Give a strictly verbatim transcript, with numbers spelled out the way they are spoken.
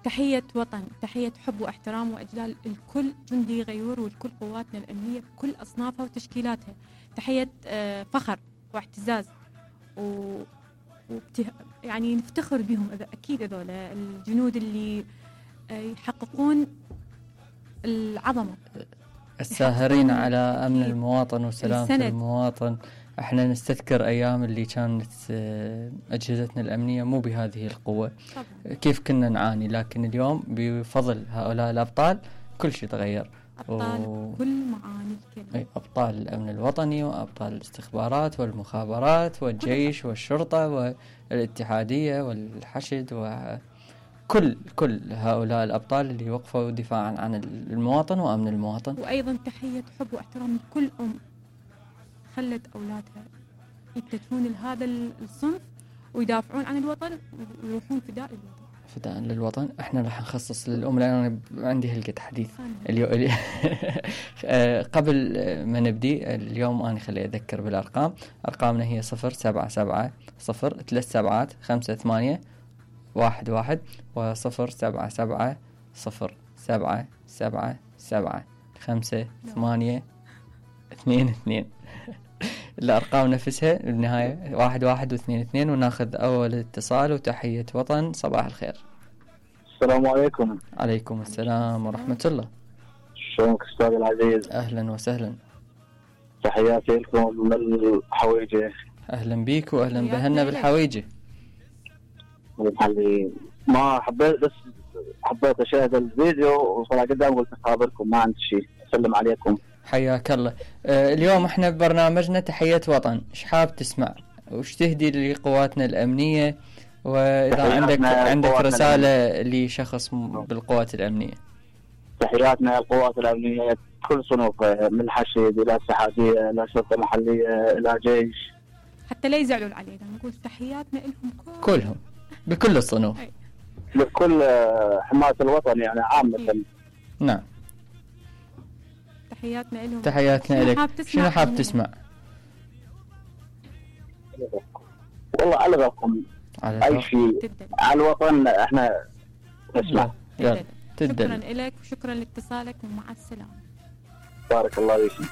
تحية وطن، تحية حب واحترام وإجلال الكل جندي غيور والكل قواتنا الأمنية بكل أصنافها وتشكيلاتها. تحية فخر واعتزاز و... وبته... يعني نفتخر بهم أكيد هذول الجنود اللي يحققون العظمة، الساهرين على أمن المواطن وسلامة المواطن. احنا نستذكر أيام اللي كانت أجهزتنا الأمنية مو بهذه القوة طبعا. كيف كنا نعاني، لكن اليوم بفضل هؤلاء الأبطال كل شيء تغير. أبطال و... كل معاني الكلمة، أبطال الأمن الوطني وأبطال الاستخبارات والمخابرات والجيش والشرطة والاتحادية والحشد وكل كل هؤلاء الأبطال اللي وقفوا دفاعا عن المواطن وأمن المواطن. وأيضا تحية حب واحترام لكل أم خلت أولادها يتجهون لهذا الصنف ويدافعون عن الوطن ويروحون فداء للوطن. فداء للوطن. احنا راح نخصص للأم لأن أنا عندي هلقة حديث اليوم. قبل ما نبدي اليوم أنا خلي أذكر بالأرقام. أرقامنا هي صفر سبعة سبعة صفر ثلاث سبعات خمسة ثمانية واحد واحد وصفر سبعة سبعة صفر سبعة سبعة سبعة خمسة ثمانية اثنين اثنين. الأرقام نفسها بالنهاية واحد واحد واثنين اثنين. وناخذ أول اتصال وتحية وطن. صباح الخير. السلام عليكم. عليكم السلام ورحمة الله. شلونك أستاذ العزيز؟ أهلا وسهلا. تحياتي لكم من الحويجة. أهلا بيك وأهلا بهنا بالحويجة. ما حبيت بس حبيت أشاهد الفيديو وصراحة قدام قلت أخابركم ما عندي شيء. أسلم عليكم. حياك الله. آه اليوم احنا ببرنامجنا تحية وطن. ايش حاب تسمع وش تهدي لقواتنا الأمنية، وإذا عندك عندك رسالة لشخص بالقوات الأمنية؟ تحياتنا القوات الأمنية كل صنوفها من الحشد إلى السحابية إلى شرطة محلية إلى جيش، حتى لا يزعلوا علينا نقول تحياتنا لهم كل... كلهم بكل الصنوف لكل حماة الوطن يعني عامة. نعم تحياتنا لهم. تحياتنا لك. شنو حاب تسمع؟ والله على رقم أي شيء على الوطن احنا نسمع. شكرا لك وشكرا لاتصالك ومع السلامة. بارك الله فيك.